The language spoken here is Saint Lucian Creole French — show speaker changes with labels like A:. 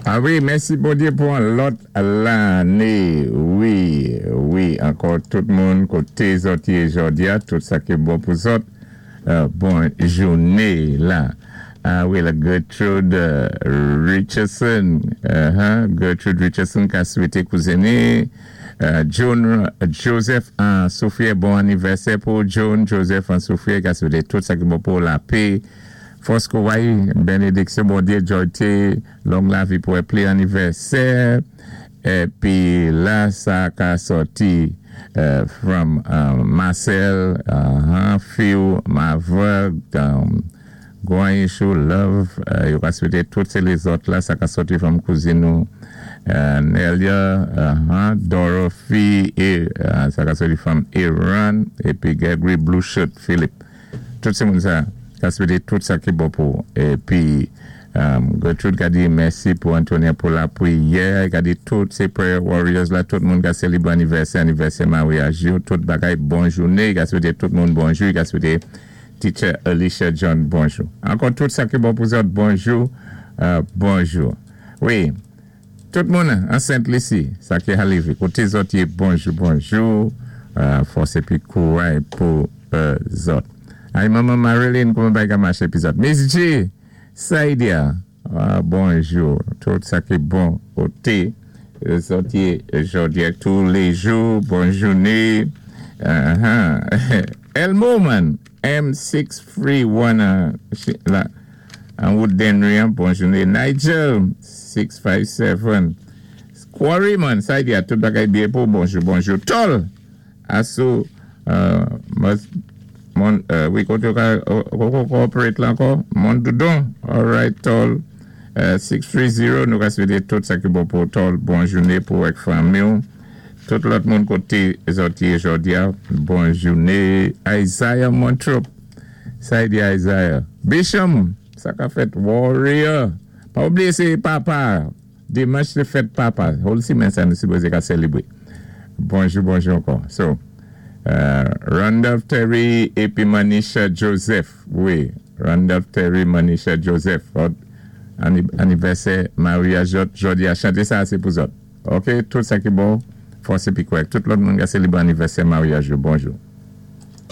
A: A wi mèsi Bondyé pou on lòt lanné wi wi ankò tout moun koté zòt yé jòdia tout sa ki bon pou zòt bon jouné la a wi la Gertrude Richardson Gertrude Richardson ka swété kouzen ni Joan Joseph an soufriè bon anivèsè pou Joan Joseph an soufriè ka swété tout sa ki bon pou lapé Fòs kouray, benediksyon Bondye Joyte, long lavi pou pli anivèsè epi la sa ka sòti from Marcel fiw Mavre Gwan Issue love yo ka swete tout se lezòt la sa ka sòti from kouzin nou Nelia Dorothy sa ka sòti from Iran epi Gregory Blue Shirt Philippe. Tout se moun sa ka swete tout sa ki bon pou ou. Epi Gertrude ka di mèsi pou Antonia pou lapriyè, ka di tout se prayer warriors la, tout moun ka selebre anivèsè, anivèsè maryaj yo, tout bagay bon joune, ka swete tout moun bonjou, ka swete teacher Alicia John bonjou. Ankò tout sa ki bon pou zòt bonjou, bonjou. Wi. Tout moun an Sent Lisi, sa ki alive, koté zòt yé bonjou bonjou, fòs épi kouray pou zòt. Ay manman Marilyn kouman bagay ka maché pi zòt. Miss G, Saidia, bonjou, tout sa ki bon koté zòt yé jòdi a tou lé jou, bon jouné. Elmo man, M 6 3 1 la. An wout Denry an bon joune Nigel 6 5 7 Quarry man sa di a tout bagay byen pou bonjou bonjou Tòl asou mon wi kote ou ka cooperate la ankò Mondoudon alright Tòl 6 3 0 nou ka swete tout sa ki bon pou Tòl bon joune pou ak fanmi w tout lòt moun kote zòt ye jodi a bon joune Isaiah Montrop. Sa di Isaiah. Bisham! Sa ka fèt warrior! Pa oubliye se papa! Dimanch se fèt papa. Whole simen sa nou sipoze ka selebre. Bonjou bonjou ankò. So, Randolph Terry epi Manisha Joseph. Wi, Randolph Terry, Manisha Joseph. Anivèsè maryaj zòt jodi a. Chante sa a se pou zòt. Ok, tout sa ki bon, fòs epi kòrèk. Tout lòt moun ka selebre anivèsè maryaj yo. Bonjou.